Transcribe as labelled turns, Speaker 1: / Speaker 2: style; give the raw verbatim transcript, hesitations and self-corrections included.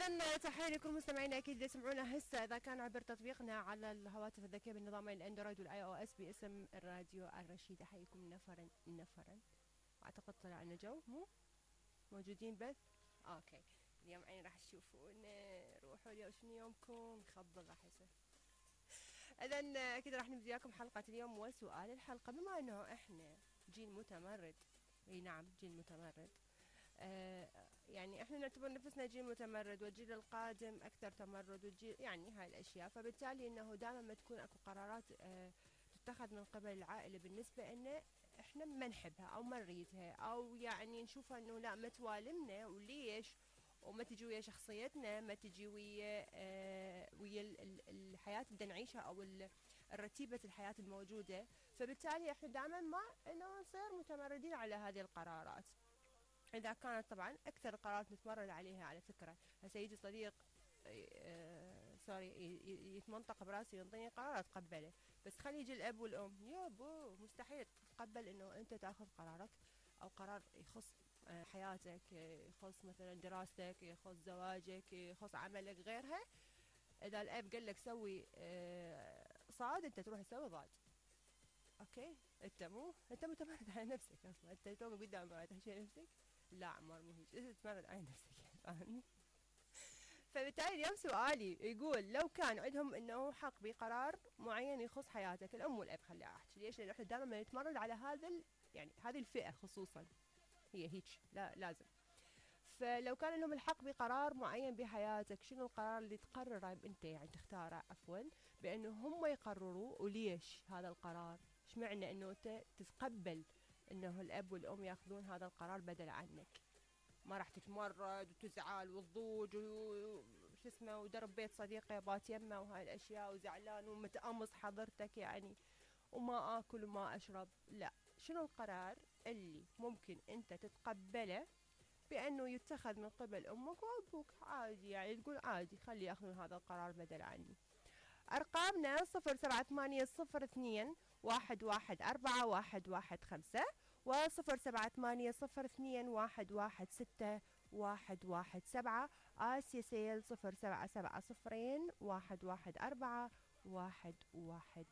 Speaker 1: اذا تحيه لكل مستمعينا اكيد اللي يسمعونا هسه اذا كان عبر تطبيقنا على الهواتف الذكيه بالنظامين الاندرويد والاي او اس باسم الراديو الرشيد. احييكم نفرا نفرا. اعتقد طلع لنا جو مو موجودين بث. اوكي اليوم عين راح تشوفونا. روحوا اليوم شنو يومكم خبل راح يصير. اذا اكيد راح نبدي لكم حلقه اليوم وسؤال الحلقه. بما انه احنا جيل متمرد، اي نعم جيل متمرد، آه يعني احنا نعتبر نفسنا جيل متمرد والجيل القادم اكثر تمرد والجيل يعني هاي الاشياء، فبالتالي انه دائما ما تكون اكو قرارات آه تتخذ من قبل العائله بالنسبه لنا احنا ما نحبها او ما نريدها او يعني نشوفها انه لا ما توالمنا وليش وما تجي ويا شخصيتنا، ما تجي ويا آه ويا ال- ال- الحياه اللي بدنا نعيشها او ال- الرتيبه الحياه الموجوده، فبالتالي احنا دائما ما انه نصير متمردين على هذه القرارات. إذا كانت طبعا أكثر القرارات نتمرد عليها على فكرة. هسه يجي صديق آه سوري ي- ي- يتمنطق براسي ينطيني قرار أتقبله، بس خلي يجي الأب والأم يابو مستحيل تتقبل إنه أنت تاخذ قرارك أو قرار يخص آه حياتك، يخص مثلا دراستك، يخص زواجك، يخص عملك غيرها. إذا الأب قال لك سوي آه صاد أنت تروح تسوي ضاد. اوكي انت مو انت متمرد على نفسك اصلا، انت تو قدام ما تحشي نفسك. لا عمار مو هيك، انت تتمرد على نفسك يعني فاهمني. فبالتالي اليوم سؤالي يقول لو كان عندهم انه حق بقرار معين يخص حياتك الام والاب، خلي احكي ليش، لان احنا دائما نتمرد على هذا ال... يعني هذه الفئه خصوصا هي هيك لا لازم. فلو كان لهم الحق بقرار معين بحياتك شنو القرار اللي تقرره انت يعني تختاره عفوا بانه هم يقرروا وليش هذا القرار؟ ايش معنى انه انت تتقبل انه الاب والام ياخذون هذا القرار بدل عنك؟ ما راح تتمرد وتزعل وتضوج وش اسمه ودرب بيت صديقه بات يمه وهاي الاشياء وزعلان ومتقمص حضرتك يعني وما اكل وما اشرب. لا، شنو القرار اللي ممكن انت تتقبله بأنه يتخذ من قبل أمك وأبوك عادي، يعني تقول عادي خلي ياخذون هذا القرار بدل عني. أرقامنا صفر سبعة ثمانية صفر اثنين واحد واحد أربعة واحد واحد خمسة وصفر سبعة ثمانية صفر اثنين واحد واحد ستة واحد واحد سبعة. آسيا سيل صفر سبعة سبعة صفرين واحد واحد أربعة واحد واحد